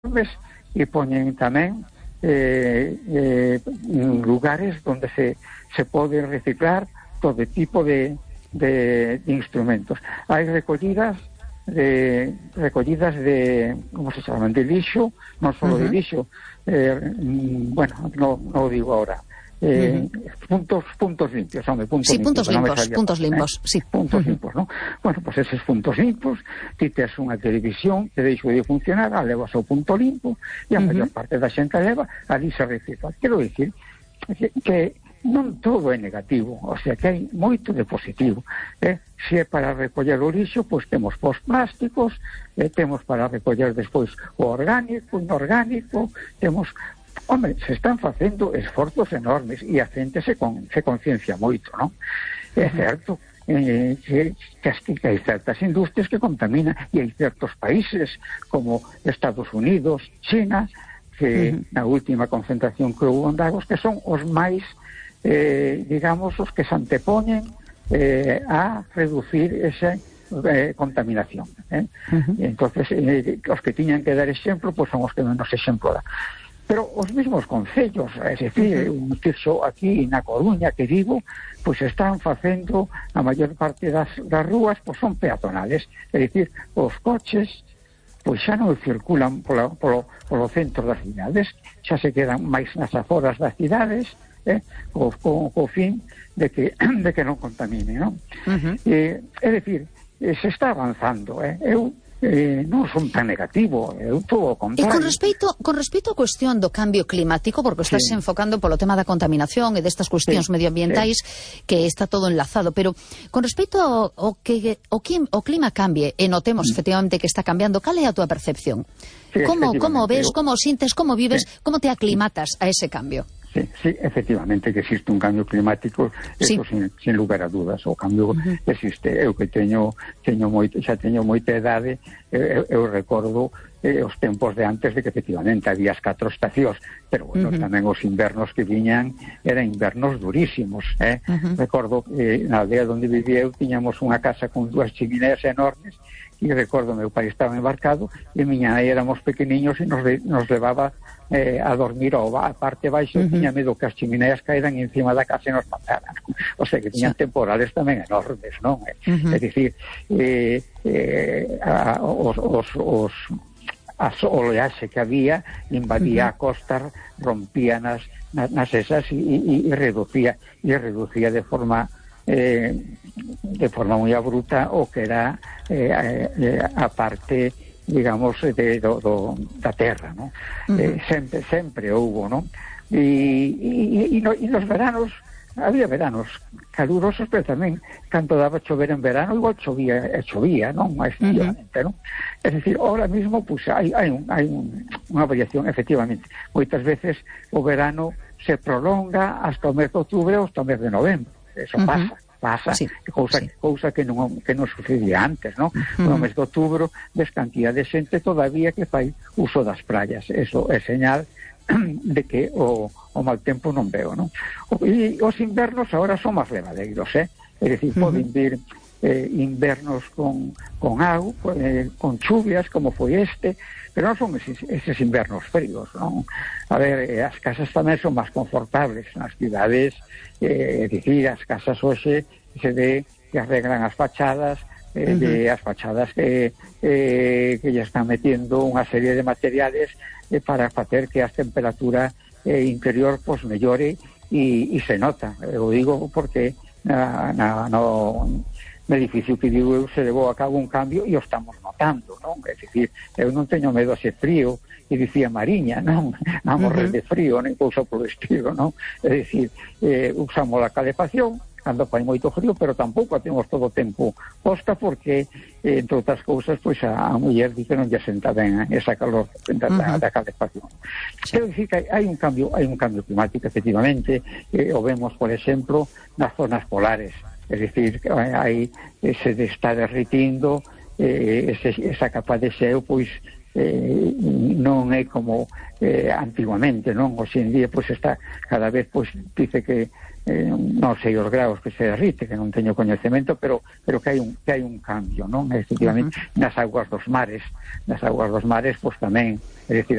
e poñen tamén lugares onde se pode reciclar todo tipo de instrumentos. Hai recollidas de como se chaman, de lixo, non só de lixo, bueno, non o digo agora, puntos limpios, home, puntos limpos, sí. Puntos limpos, ¿no? Bueno, pues esos puntos limpos, ti tes unha televisión que deixou de funcionar, a levas ao punto limpo, e a maior parte da xente leva, ali se recicla. Quero dicir que non todo é negativo, o sea que hai moito de positivo. Se é para recoller o lixo, pois temos os plásticos, temos para recoller despois o orgánico, inorgánico, temos... Home, se están facendo esforzos enormes e a xente se conciencia moito, non? É certo que hai certas industrias que contaminan e hai certos países como Estados Unidos, China, que na última concentración que houve en Lagos, que son os máis, digamos, os que se antepoñen a reducir esa contaminación. Entonces, os que tiñan que dar exemplo, pois son os que menos exemplo dan. Pero os mesmos concellos, é dicir, un tirso aquí na Coruña que vivo, pois están facendo a maior parte das rúas, pois son peatonales, é dicir, os coches pois xa non circulan polo centro das cidades, xa se quedan máis nas aforas das cidades, co fin de que non contamine, non? É dicir, se está avanzando, non son tan negativo, eu todo o contrario. E con respecto á cuestión do cambio climático, porque estás enfocando polo tema da contaminación e destas cuestións medioambientais, que está todo enlazado, pero con respecto ao que o clima cambie, e notemos efectivamente que está cambiando, cal é a túa percepción? Como ves, como sintes, como vives, como te aclimatas a ese cambio? Sí, efectivamente que existe un cambio climático, eso sin lugar a dudas, o cambio existe. Eu que xa teño moita idade, eu recordo os tempos de antes de que efectivamente había as 4 estacións, pero bueno, tamén os invernos que viñan eran invernos durísimos, Recordo que na aldea onde vivía eu tiñamos unha casa con 2 chimineas enormes, e recordo meu pai estaba embarcado e miña nai éramos pequeniños e nos levaba a dormir a parte baixo, tiña medo que as chimineas caeran encima da casa e nos mataran. O sea que tiñan temporales tamén enormes, non? É dicir, as oleaxe que había invadía a costa, rompía nas esas e reducía de forma moi abrupta o que era a parte, digamos, da terra, ¿no? Sempre houbo, ¿no? E nos veranos había veranos calurosos, pero tamén cando daba chover en verano igual chovía, non? Efectivamente, non? É dicir, ahora mismo pues, hai unha variación, efectivamente. Moitas veces o verano se prolonga hasta o mes de outubro ou hasta o mes de novembro. Eso pasa, cousa que non sucedía antes, non? No mes de outubro ves cantidad de xente todavía que fai uso das praias. Eso é señal de que o mal tempo non veo, non? E os invernos agora son máis levadeiros, É dicir, poden vir invernos con auga, con chuvias, como foi este, pero non son eses invernos fríos, non? A ver, as casas tamén son máis confortables nas cidades, é dicir, as casas hoxe se ve que arreglan as fachadas, as fachadas que ya están metiendo unha serie de materiales para facer que a temperatura interior pues mellore e se nota. Eu digo porque no edificio que digo eu se levou a cabo un cambio e o estamos notando, non? É dicir, eu non teño medo a ser frío, e dicía Mariña, non? A morrer de frío, nem cousa polo estilo, non? É dicir, usamos a calefacción cando fai moito frío, pero tampouco a temos todo o tempo posta porque, entre outras cousas, pois a muller dice non lle senta ben esa calor da calefacción. Quero dicir que hai un cambio climático, efectivamente, o vemos, por exemplo, nas zonas polares. É dicir, se está derritindo esa capa de xeo, pois non é é como antiguamente, non? Hoxe en día pois está cada vez, pois dice que non sei os graus que se derrite, que non teño coñecemento, pero que hai un cambio, non? Efectivamente, nas augas dos mares pois tamén, é dicir,